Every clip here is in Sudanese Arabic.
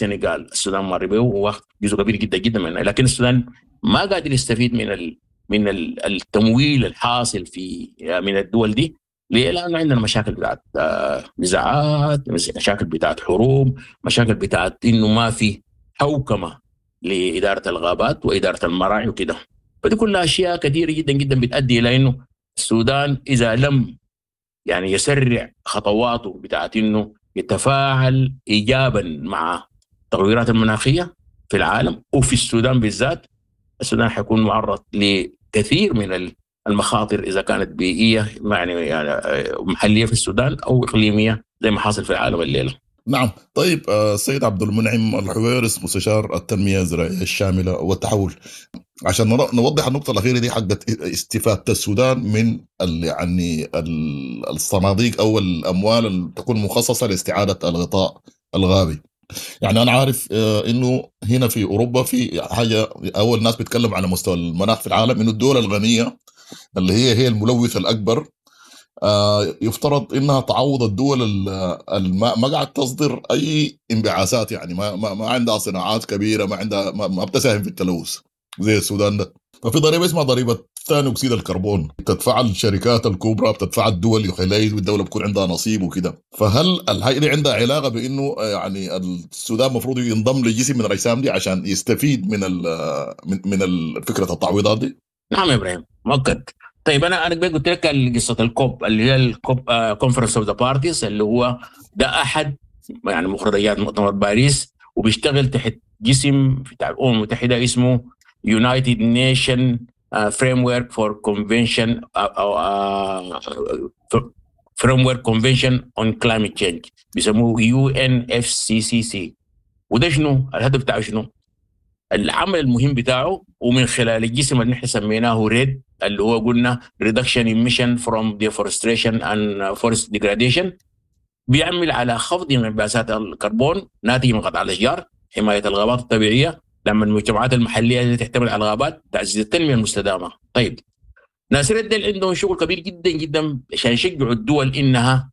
السنغال السودان مر به وواخد جزء كبير جدا جدا منه، لكن السودان ما قادر يستفيد من التمويل الحاصل من الدول دي. ليه؟ لأنه عندنا مشاكل بتاعت نزاعات، مشاكل بتاعت حروب، مشاكل بتاعت إنه ما في حوكمة لإدارة الغابات وإدارة المراعي وكده. فدي كلها أشياء كثيرة جدا جدا بتؤدي إلى إنه السودان إذا لم يسرع خطواته بتاعت إنه يتفاعل إيجابا مع التغيرات المناخية في العالم وفي السودان بالذات، السودان حيكون معرض لكثير من المخاطر إذا كانت بيئية محلية في السودان أو إقليمية زي ما حاصل في العالم الليلة. نعم. السيد عبد المنعم الحويرس مستشار التنمية الزراعية الشاملة والتحول، عشان نوضح النقطة الأخيرة دي حقت استفادة السودان من الصناديق أو الأموال اللي تكون مخصصة لاستعادة الغطاء الغابي. أنا عارف إنه هنا في أوروبا في حاجة أول ناس بيتكلم على مستوى المناخ في العالم، إنه الدول الغنية اللي هي الملوث الأكبر، يفترض إنها تعوض الدول ما قاعد تصدر أي انبعاثات، يعني ما عندها صناعات كبيرة، ما عندها، ما بتساهم في التلوث زي السودان ده. ففي ضريبة اسمها ضريبة ثاني أكسيد الكربون، بتدفع الشركات الكبرى، بتدفع الدول، يخلي الدولة بيكون عندها نصيب وكده. فهل الحاجة دي عندها علاقة بإنه السودان المفروض ينضم لجسم من الأجسام دي عشان يستفيد من فكرة التعويضات دي؟ نعم يا إبراهيم، مؤكد. طيب أنا قلت لك قصة الكوب اللي هي الكوب، Conference of the Parties، اللي هو ده أحد مخرجات مؤتمر باريس، وبيشتغل تحت جسم بتاع الأمم المتحدة اسمه United Nation Framework for Convention، Framework Convention on Climate Change، بيسموه UNFCCC. وده شنو؟ الهدف بتاعه شنو؟ العمل المهم بتاعه، ومن خلال الجسم اللي نحن سميناه REDD، اللي هو قلنا Reduction Emission from Deforestation and Forest Degradation، بيعمل على خفض انبعاثات الكربون ناتج من قطع الأشجار، حماية الغابات الطبيعية، دعم المجتمعات المحلية التي تعتمد على الغابات، تعزيز التنمية المستدامة. ناس ريد ديل عندهم شغل كبير جدا جدا عشان يشجعوا الدول إنها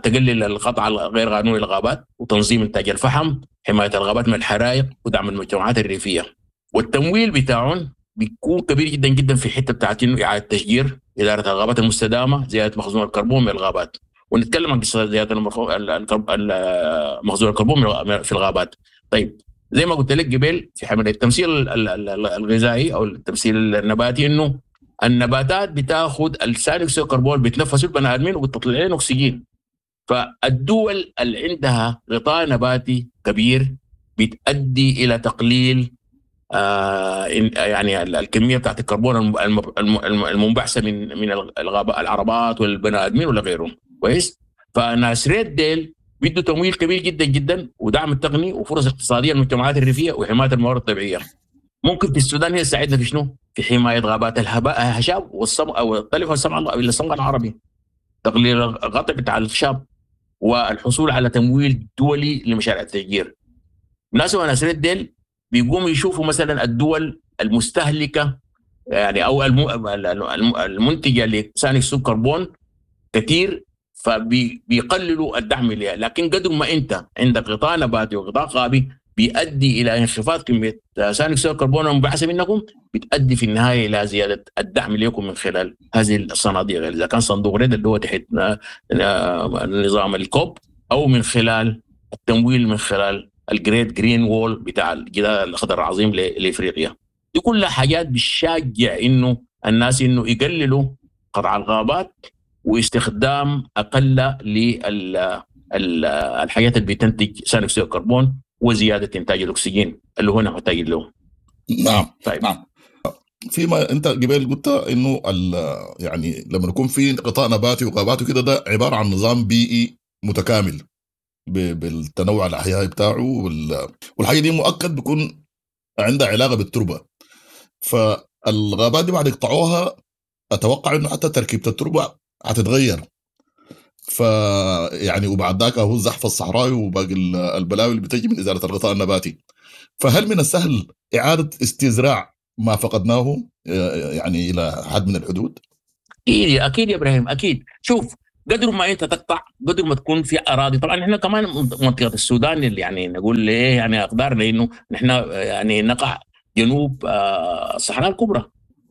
تقلل القطع الغير قانوني للغابات، وتنظيم إنتاج الفحم، حماية الغابات من الحرائق، ودعم المجتمعات الريفية. والتمويل بتاعهم بيكون كبير جدا جدا في حتة بتاعت إنه إعادة تشجير، إدارة الغابات المستدامة، زيادة مخزون الكربون من الغابات. ونتكلم عن قصة زيادة مخزون الكربون في الغابات. زي ما قلت لك قبل في حملة التمثيل الغذائي أو التمثيل النباتي، إنه النباتات بتاخد الثاني أكسيد الكربون، بتنفسه البني آدمين وبتطلع لنا أكسجين. فالدول اللي عندها غطاء نباتي كبير بتؤدي إلى تقليل الكمية بتاعت الكربون المنبعثة من العربات والبني آدمين ولا غيرهم. كويس؟ فناس ريد ديل بيدوا تمويل كبير جدا جدا ودعم التقني وفرص اقتصادية للمجتمعات الريفية وحماية الموارد الطبيعية. ممكن في السودان هي تساعدنا في شنو؟ في حماية غابات الهشاب والصمغ أو الطلف والصمغ الصمغ العربي، تقليل القطع بتاع الخشاب، والحصول على تمويل دولي لمشاريع التشجير. ناس وناس ريد ديل بيقوموا يشوفوا مثلا الدول المستهلكة أو المنتجة لثاني أكسيد الكربون كثير، فبيقللوا الدعم لها. لكن قدر ما أنت عندك غطاء نباتي وغطاء غابي بيؤدي إلى انخفاض كمية ثاني أكسيد الكربون المنبعثة منكم، بتؤدي في النهاية إلى زيادة الدعم لكم من خلال هذه الصناديق، إذا كان صندوق ريد اللي هو تحت نظام الكوب، أو من خلال التمويل من خلال ال Great Green Wall بتاع الجدار الأخضر العظيم لإفريقيا. دي كلها حاجات بتشجع إنه الناس إنه يقللوا قطع الغابات واستخدام أقل الحاجات اللي بتنتج ثاني أكسيد الكربون وزيادة إنتاج الأكسجين اللي هو محتاج له. نعم. فيما أنت قبل قلت إنه لما يكون في غطاء نباتي وغابات وكده، ده عبارة عن نظام بيئي متكامل بالتنوع الأحيائي بتاعه والحاجة دي مؤكد بيكون عندها علاقة بالتربة. فالغابات دي بعد يقطعوها أتوقع إنه حتى تركيبة التربة هتتغير. وبعد ذاك هو الزحف الصحراوي وباقي البلاوي اللي بتجي من إزالة الغطاء النباتي. فهل من السهل إعادة استزراع ما فقدناه إلى حد من الحدود؟ أكيد، أكيد يا إبراهيم، أكيد. قدر ما انت تقطع قدر ما تكون في اراضي. طبعا احنا كمان منطقة السودان اللي يعني نقول ليه يعني اقدارنا انه نحن يعني نقع جنوب الصحراء الكبرى.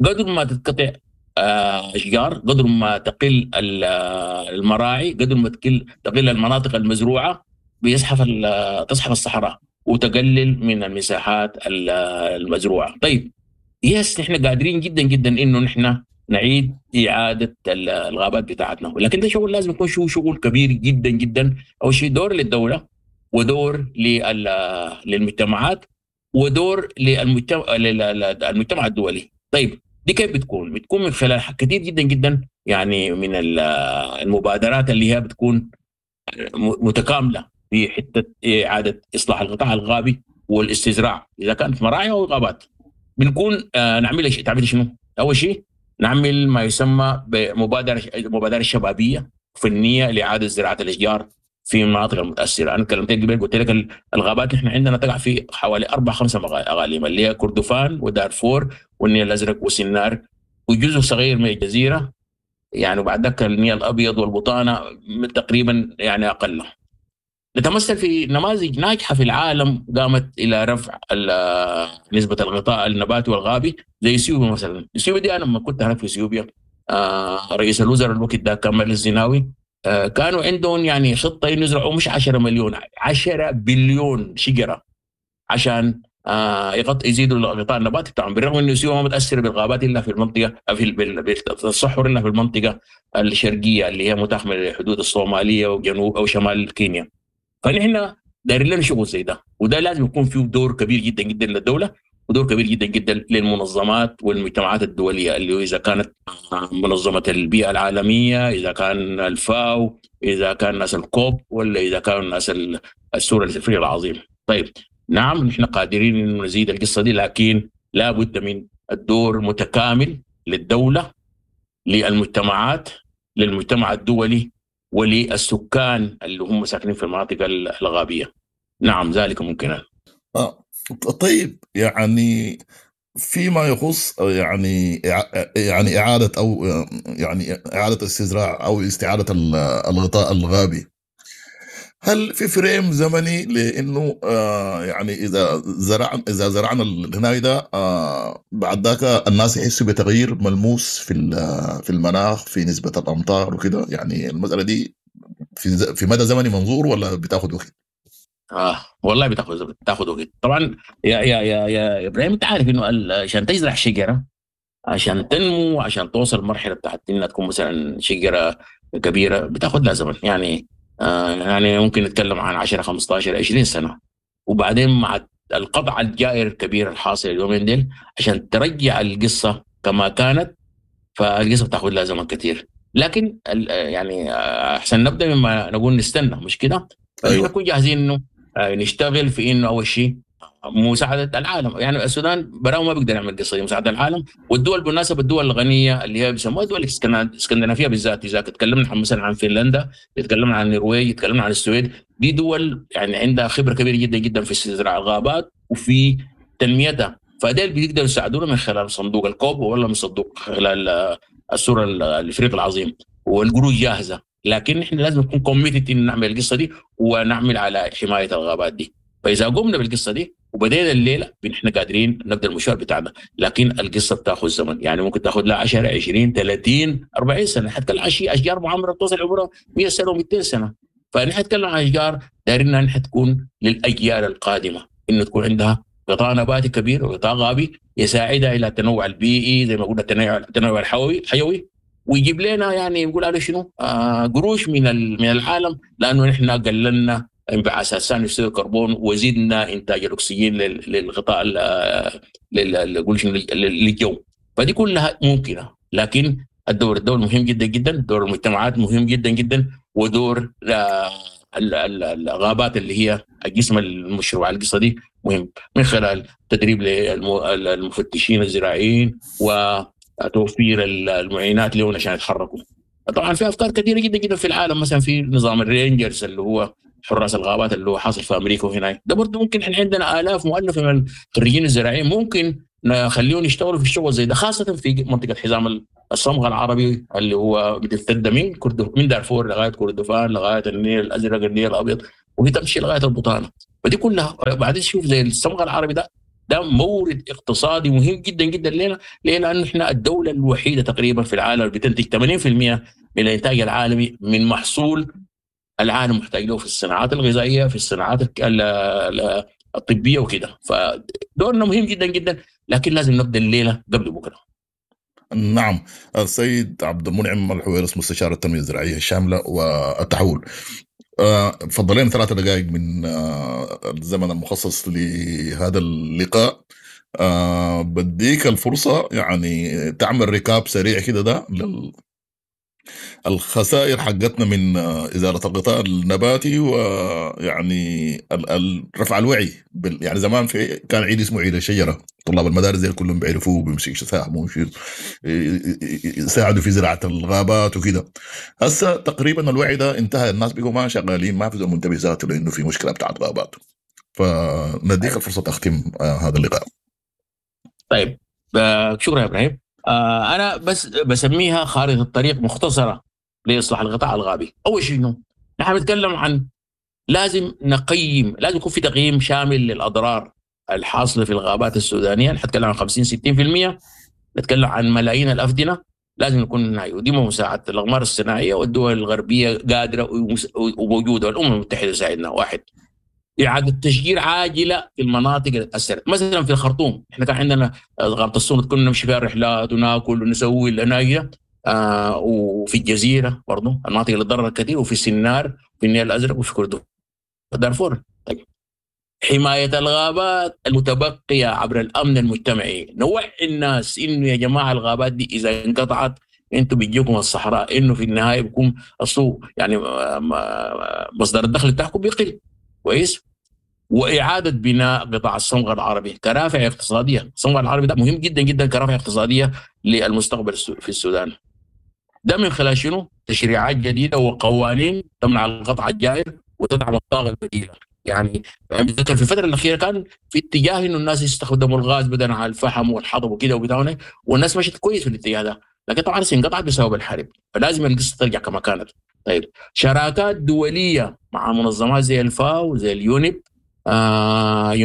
قدر ما تتقطع اشجار، قدر ما تقل المراعي، قدر ما تقل المناطق المزروعه، بيزحف تزحف الصحراء وتقلل من المساحات المزروعه. طيب yes نحن قادرين جدا جدا انه نحن نعيد اعاده الغابات بتاعتنا، ولكن ده شغل لازم يكون شغل كبير جدا جدا. اول شيء دور للدولة، ودور للمجتمعات، ودور للمجتمع الدولي. طيب دي كيف بتكون؟ بتكون من خلال كثير جدا جدا يعني من المبادرات اللي هي بتكون متكاملة في حتة اعاده اصلاح القطاع الغابي والاستزراع اذا كانت مراعي او غابات. بنكون نعمل تعمل شنو؟ اول شيء نعمل ما يسمى بمبادرة شبابية فنية لاعادة زراعة الاشجار في المناطق المتاثرة. انا كلمت قبل قلت لك الغابات احنا عندنا تقع في حوالي 4-5 اقاليم اللي هي كردفان ودارفور والنيل الازرق وسنار وجزء صغير من الجزيرة يعني، وبعد ذاك النيل الابيض والبطانه تقريبا يعني اقل. نتمثل في نماذج ناجحة في العالم قامت الى رفع نسبه الغطاء النباتي والغابي زي اثيوبيا مثلا. اثيوبيا دي انا لما كنت هناك في اثيوبيا رئيس الوزراء الوقت ده كان ملس الزناوي، كانوا عندهم يعني خطه يزرعوا مش 10 مليون، 10 بليون شجرة عشان يزيدوا الغطاء النباتي بتاعهم، بالرغم انه اثيوبيا ما متاثرة بالغابات الا في المنطقة في الصحر الا في المنطقة الشرقية اللي هي متاخمه للحدود الصومالية وجنوب او شمال كينيا. فنحن دايرين لنا شغل زي ده، وده لازم يكون فيه دور كبير جدا جدا للدولة ودور كبير جدا جدا للمنظمات والمجتمعات الدولية، اللي اذا كانت منظمة البيئة العالمية، اذا كان الفاو، اذا كان ناس الكوب، ولا اذا كان ناس السور الافريقي العظيم. طيب نعم نحن قادرين انه نزيد القصة دي، لكن لا بد من الدور متكامل للدولة، للمجتمعات، للمجتمع الدولي، وللسكان اللي هم ساكنين في المناطق الغابيه. نعم ذلك ممكن. طيب يعني فيما يخص يعني اعاده او يعني اعاده استزراع او استعاده الغطاء الغابي، هل في فريم زمني لانه يعني اذا زرعنا الهناي ده بعد ذاك الناس يحسوا بتغيير ملموس في المناخ، في نسبه الامطار وكده؟ يعني المسالة دي في مدى زمني منظور ولا بتاخذ وقت؟ والله بتاخذ وقت طبعا. يا يا يا يا ابراهيم، انت عارف انه عشان تزرع شجرة، عشان تنمو، عشان توصل مرحلة بتاعت انها تكون مثلا شجرة كبيرة، بتاخذ لها زمن. يعني يعني ممكن نتكلم عن 10 15 20 سنة، وبعدين مع القطع الجائر الكبير الحاصل اليومين ديل عشان ترجع القصة كما كانت، فالقصة بتاخذ لها زمن كثير. لكن يعني احسن نبدا مما نقول نستنى، مش كده؟ أيوة. نكون جاهزين انه نشتغل في انه اول شيء مساعدة العالم. يعني السودان براو ما بيقدر يعمل قصة دي، مساعدة العالم والدول، بالمناسبة الدول الغنية اللي هي بيسموها الدول الاسكندنافية بالذات. اذا تكلمنا مثلا عن فنلندا، تكلمنا عن النرويج، تكلمنا عن السويد، دي دول يعني عندها خبره كبيرة جدا جدا في استزراع الغابات وفي تنميتها، فديل بيقدروا يساعدونا من خلال صندوق الكوب ولا من صندوق خلال السور الافريقي العظيم، والقروش جاهزة. لكن احنا لازم نكون committed ان نعمل القصة دي ونعمل على حماية الغابات دي. فاذا قمنا بالقصة دي وبدينا الليلة نحن قادرين نبدا المشوار بتاعنا، لكن القصة بتاخذ زمن. يعني ممكن تاخذ لها 10 20 30 40 سنة، حتى العشي اشجار معمره بتوصل عمرها 100 سنة و200 سنة. فنحن نتكلم عن اشجار دايرين انها تكون للاجيال القادمة، انه تكون عندها غطاء نباتي كبير وغطاء غابي يساعدها الى التنوع البيئي زي ما قلنا، التنوع الحيوي، ويجيب لنا يعني نقول عليه شنو قروش من العالم، لانه نحن قللنا انبعاثات ثاني اكسيد الكربون وزدنا انتاج الاكسجين للغطاء للجو. فدي كلها ممكنة، لكن الدور مهم جدا جدا، دور المجتمعات مهم جدا جدا، ودور الغابات اللي هي الجسم المشروع القصة دي مهم، من خلال تدريب للمفتشين الزراعيين وتوفير المعينات لهم عشان يتحركوا. طبعا في افكار كثيرة جدا جدا في العالم، مثلا في نظام ال rangers اللي هو حراس الغابات اللي هو حاصل في امريكا وهناك، ده برضه ممكن احنا عندنا الاف مؤلفه من الخريجين الزراعيين ممكن نخليهم يشتغلوا في الشغل زي ده، خاصة في منطقة حزام الصمغ العربي اللي هو بتمتد من دارفور لغاية كردفان لغاية النيل الازرق، النيل الابيض، وهي تمشي لغاية البطانة. فدي كلها بعدين شوف زي الصمغ العربي ده مورد اقتصادي مهم جدا جدا لنا. ليه؟ لانه احنا الدولة الوحيدة تقريبا في العالم اللي بتنتج 80% من الانتاج العالمي من محصول العالم محتاج له في الصناعات الغذائية، في الصناعات الطبية وكده. فدورنا مهم جدا جدا، لكن لازم نبدا الليلة قبل بكره. نعم، السيد عبد المنعم الحويرص مستشار التنمية الزراعية الشاملة والتحول، فضلين 3 دقائق من الزمن المخصص لهذا اللقاء. بديك الفرصة يعني تعمل ريكاب سريع كده ده الخسائر حقتنا من إزالة الغطاء النباتي، ويعني رفع الوعي يعني زمان في كان عيد اسمه عيد الشجرة، طلاب المدارس زي كلهم بيعرفوه وبيمسكوا يساهموا يساعدوا في زراعة الغابات وكده. هسه تقريبا الوعي ده انتهى، الناس بقوا ما شغالين، ما في منتبه ذاته لانه في مشكلة بتاعت غابات. فنديك الفرصة تختم هذا اللقاء. طيب، شكرا يا ابراهيم. أنا بس بسميها خارطة الطريق مختصرة لإصلاح الغطاء الغابي. أول شيء نحن بنتكلم عن لازم نقيم، لازم يكون في تقييم شامل للأضرار الحاصلة في الغابات السودانية. نتكلم عن 50-60%، نتكلم عن ملايين الأفدنة، لازم نكون نعي. ودي مساعدة الأغمار الصناعية والدول الغربية قادرة وموجودة، والأمم المتحدة ساعدنا. واحد، إعادة تشجير عاجلة في المناطق اللي تأثرت. مثلا في الخرطوم احنا كان عندنا غابة السونت كنا نمشي فيها رحلات وناكل ونسوي الأناجية، وفي الجزيرة برضو المناطق اللي تضررت كثير، وفي سنار، في النيل الأزرق، وفي كردفان دارفور. طيب، حماية الغابات المتبقية عبر الأمن المجتمعي، نوعي الناس إنه يا جماعة الغابات دي إذا انقطعت انتم بيجيكم الصحراء، إنه في النهاية بيكون السوق يعني مصدر الدخل بتاعكم بيقل. كويس. وإعادة بناء قطاع الصمغ العربي كرافع اقتصادية. الصمغ العربي ده مهم جدا جدا كرافع اقتصادية للمستقبل في السودان. ده من خلال شنو؟ تشريعات جديدة وقوانين تمنع القطع الجائر وتدعم الطاقة البديلة. يعني بتذكر في الفترة الأخيرة كان في اتجاه إنه الناس يستخدموا الغاز بدلا عن الفحم والحطب وكده وبتاع، والناس مشت كويس في الاتجاه ده، لكن طبعا انقطعت بسبب الحرب، فلازم القصة ترجع كما كانت. طيب، شراكات دولية مع منظمات زي الفاو، زي ال UNEP،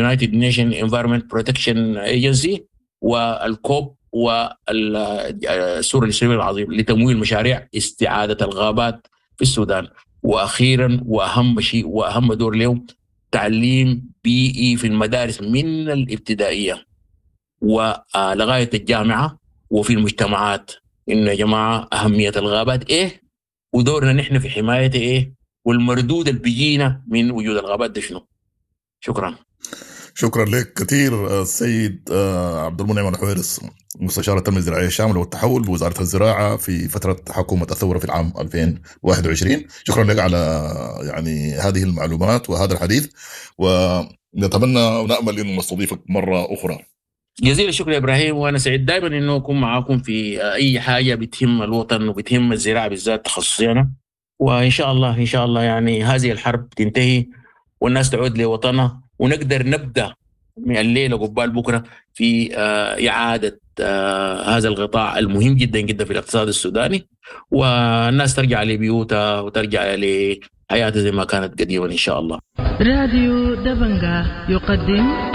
United Nation Environment Protection Agency، وال COP، والسور الإسلامي العظيم لتمويل مشاريع استعادة الغابات في السودان. وأخيرا وأهم شيء وأهم دور لهم، تعليم بيئي في المدارس من الابتدائية ولغاية الجامعة وفي المجتمعات، إنه يا جماعة أهمية الغابات إيه، ودورنا نحن في حماية إيه، والمردود اللي بيجينا من وجود الغابات ده شنو. شكرا. شكرا لك كثير السيد عبد المنعم الحويرص، مستشار التنمية الزراعية الشاملة والتحول بوزارة الزراعة في فترة حكومة الثورة في العام 2021. شكرا لك على يعني هذه المعلومات وهذا الحديث، ونتمنى ونأمل أن نستضيفك مرة أخرى. جزيل الشكر يا إبراهيم، وأنا سعيد دائما أنه أكون معاكم في أي حاجة بتهم الوطن وبتهم الزراعة بالذات تخصصي أنا. وإن شاء الله إن شاء الله يعني هذه الحرب تنتهي والناس تعود لوطنها، ونقدر نبدأ من الليلة قبال بكرة في إعادة هذا القطاع المهم جدا جدا في الاقتصاد السوداني، والناس ترجع لبيوتها وترجع لحياتها زي ما كانت قديما إن شاء الله. راديو دبنجا يقدم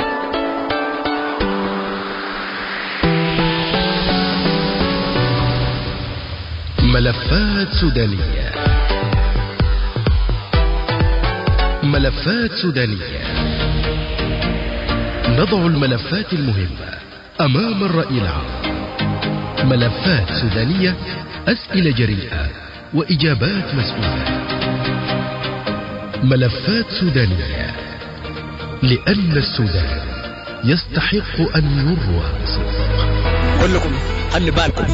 ملفات سودانية. ملفات سودانية، نضع الملفات المهمة أمام الرأي العام. ملفات سودانية، أسئلة جريئة وإجابات مسؤولة. ملفات سودانية، لأن السودان يستحق أن يروى بصدق. كلكم خلي بالكم،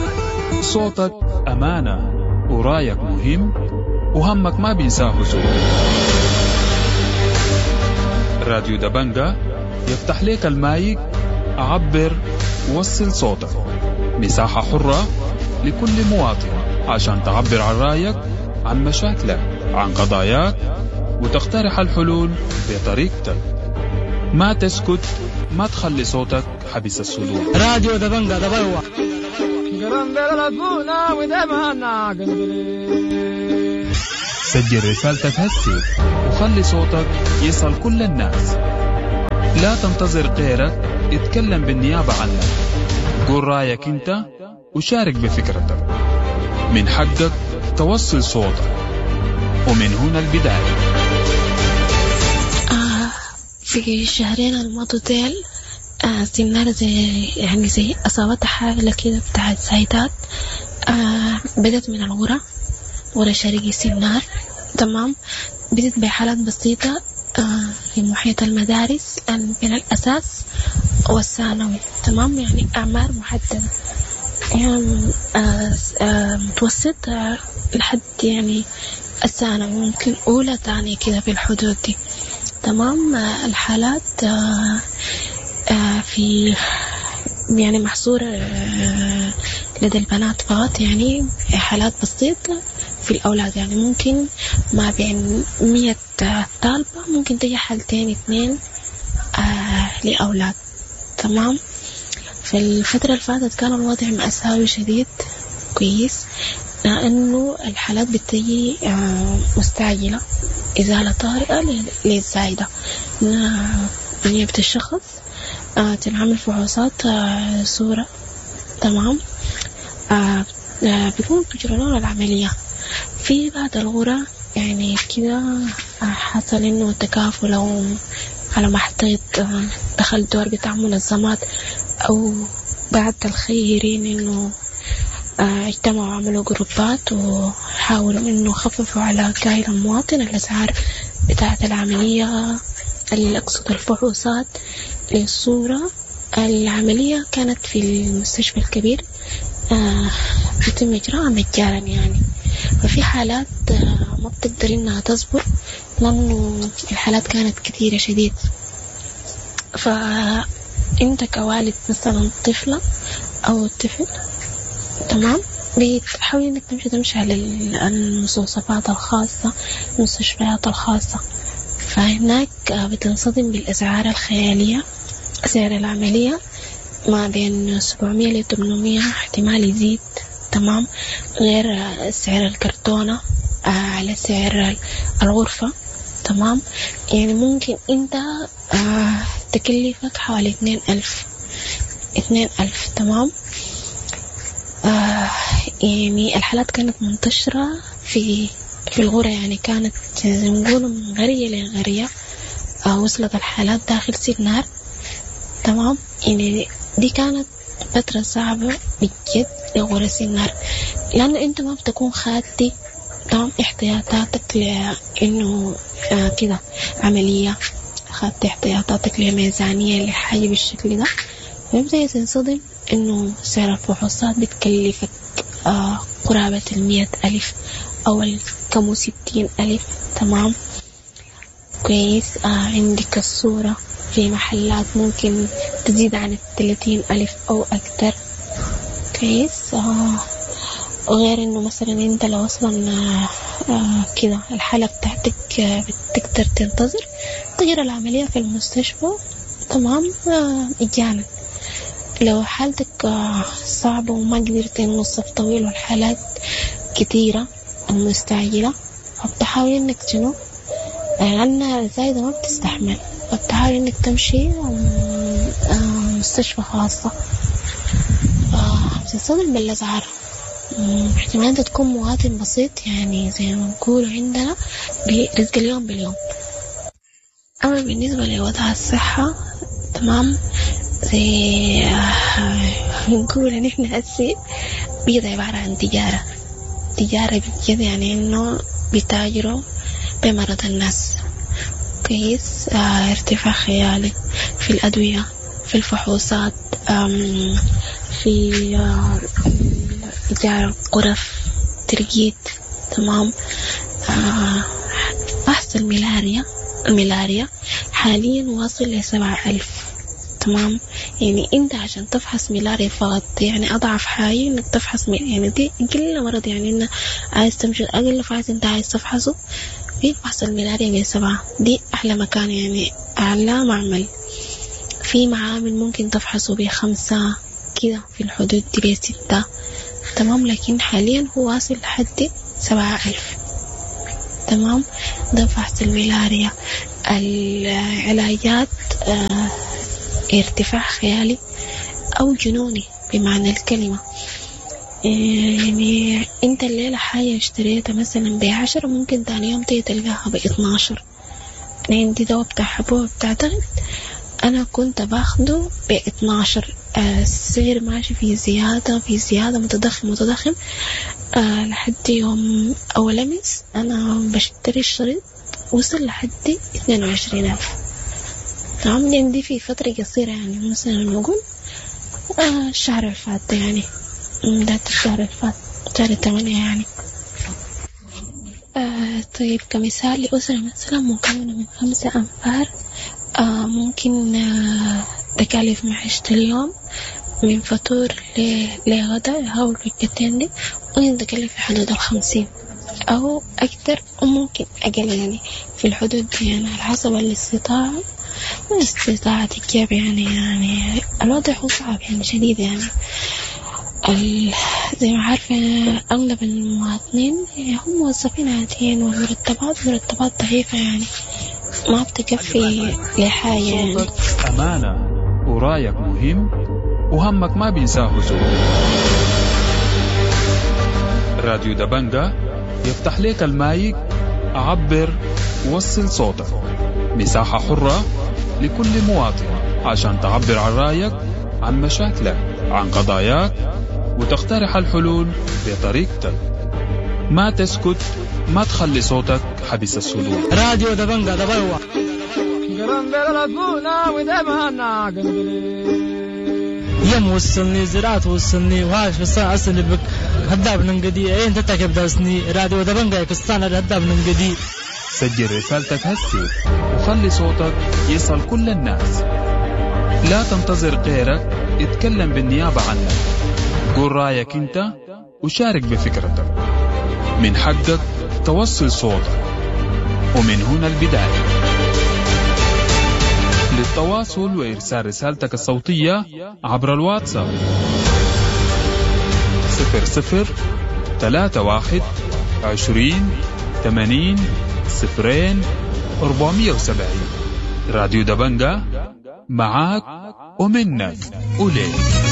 صوتك أمانة ورايك مهم وهمك ما بينساه زول. راديو دبنجا يفتح لك المايك، عبر، وصل صوتك. مساحة حرة لكل مواطن عشان تعبر عن رأيك، عن مشاكلك، عن قضاياك، وتقترح الحلول بطريقتك. ما تسكت، ما تخلي صوتك حبس الصدور. راديو دبنجا دبلوة. سجل رسالتك هسي وخلي صوتك يصل كل الناس. لا تنتظر غيرك يتكلم بالنيابة عنك. قول رايك انت وشارك بفكرتك. من حقك توصل صوتك، ومن هنا البداية. في الشهرين الماضوا ديل سنار زي يعني زي أصابتها حالة كده بتاعت زايدات. بدت من الغرة، غرة شرقي سنار، تمام. بدت بحالات بسيطة في محيط المدارس بين الأساس والثانوي، تمام، يعني أعمار محددة، يعني متوسط لحد يعني الثانوي، ممكن أولى تانية كده في الحدود دي، تمام. الحالات في يعني محصورة لدى البنات فقط، يعني حالات بسيطة في الأولاد، يعني ممكن ما بين 100 طالبة ممكن تجي حالتين 2 لأولاد، تمام. في الفترة اللي فاتت كان الوضع مأساوي شديد، كويس، لأنه الحالات بتجي مستعجلة، إزالة طارئة للزايدة، نيابة الشخص تنعمل فحوصات صورة، تمام، بيكون بيجرون العملية. في بعض الغرة يعني كده حصل إنه تكافل أو على ما حطيت دخل دور بتاع منظمات أو بعض الخيرين إنه اجتمعوا وعملوا جروبات وحاولوا إنه خففوا على كاهل المواطن الأسعار بتاعة العملية، اللي أقصد الفحوصات للصورة. العملية كانت في المستشفى الكبير، بيتم إجراءها مجانا يعني. ففي حالات ما بتقدر إنها تصبر لأنه الحالات كانت كثيرة شديد. فأنت كوالد مثلا طفلة أو طفل، تمام، بتحاول إنك تمشي على المستوصفات الخاصة، المستشفيات الخاصة، فهناك بتنصدم بالأسعار الخيالية. سعر العملية ما بين 700 ل 800، احتمال يزيد، تمام، غير سعر الكرتونة على سعر الغرفة، تمام. يعني ممكن انت تكلفك حوالي 2000، تمام. يعني الحالات كانت منتشرة في الغرة، يعني كانت زي ما نقول من غرية لغرية. وصلت الحالات داخل سنار، تمام. يعني دي كانت فترة صعبة بجد لغرة سنار، لأنه أنت ما بتكون خاتي، تمام، احتياطاتك لأنه كده عملية، خدت احتياطاتك لميزانية لحاجة بالشكل ده، فبدأ تنصدم إنه سعر الفحوصات بتكلفك قرابة 100,000 أو كم 60,000، تمام، كويس. عندك الصورة في محلات ممكن تزيد عن 30,000 أو أكتر، كويس. غير إنه مثلا أنت لو أصلا كده الحالة بتاعتك بتقدر تنتظر تجرى العملية في المستشفى، تمام، مجانا. لو حالتك صعبة وما قدرت إنه الصف طويل والحالات كتيرة المستعجلة، فبتحاول إنك شنو، لأن الزايدة ما بتستحمل، فبتحاول إنك تمشي مستشفى خاصة، بتنصدم بالأسعار. احتمال أنت تكون مواطن بسيط، يعني زي ما نقول عندنا برزق اليوم باليوم. أما بالنسبة لوضع الصحة، تمام، زي نقول إن إحنا هسي بيض عبارة عن تجارة، تجارة بجد، يعني إنه بيتاجروا بمرض الناس، كويس. ارتفاع خيالي في الأدوية، في الفحوصات، في إيجار الغرف، ترقيد، تمام. فحص الملاريا حاليا واصل ل7,000، تمام. يعني انت عشان تفحص ملاريا فقط، يعني اضعف حاجة انك تفحص يعني دي كل مرض، يعني انك عايز تمشي اقل فحص انت عايز تفحصه في فحص الملاريا ب7، دي احلى مكان، يعني اعلى معمل. في معامل ممكن تفحصه ب5 كده في الحدود دي ب6، تمام. لكن حاليا هو واصل لحد 7000، تمام. ده فحص الملاريا. العلاجات ارتفاع خيالي أو جنوني بمعنى الكلمة. يعني أنت الليلة حاجة اشتريتها مثلا ب10 ممكن تاني يوم تيجي تلقاها ب12. أنا عندي دواء بتاع حبوب بتاع ضغط أنا كنت باخده ب12، السعر ماشي في زيادة في زيادة، متضخم متضخم، لحد يوم أول أمس أنا بشتري الشريط وصل لحد 22,000، تمام. عندي في فترة قصيرة يعني مثلا نقول الشهر الفات يعني بداية الشهر الفات شهر 8 يعني. طيب كمثال لأسرة مثلا مكونة من 5 أنفار، ممكن تكاليف معيشة اليوم من فطور لغدا أو الوجبتين دي ممكن تكلف في حدود 50 أو أكثر وممكن أقل، يعني في الحدود دي يعني على حسب الاستطاعة واستطاعة الجيب يعني الوضع هو صعب يعني شديد يعني. زي ما عارفة أغلب المواطنين هم موظفين عاديين والمرتبات مرتبات ضعيفة يعني ما بتكفي لحاجة يعني. صوتك أمانة ورايك مهم وهمك ما بينساه زول. راديو دبنجة يفتح لك المايك، عبر وصل صوتك، مساحة حرة لكل مواطن عشان تعبر عن رأيك، عن مشاكلك، عن قضاياك، وتقترح الحلول بطريقتك. ما تسكت، ما تخلي صوتك حبس الصدور. راديو دبنجة دبلوة. يم وصلني زراعة وصلني وهاش بس أصلي بك هداب ننقدي أين تتكب داسني راديو دبنجة كستانا هداب ننقدي. سجل رسالتك هسي وخلي صوتك يصل كل الناس. لا تنتظر غيرك يتكلم بالنيابة عنك. قول رأيك انت وشارك بفكرتك. من حقك توصل صوتك، ومن هنا البداية. للتواصل وإرسال رسالتك الصوتية عبر الواتساب 00 31 20 80 0 470. راديو دبنجة معاك ومنك وليك.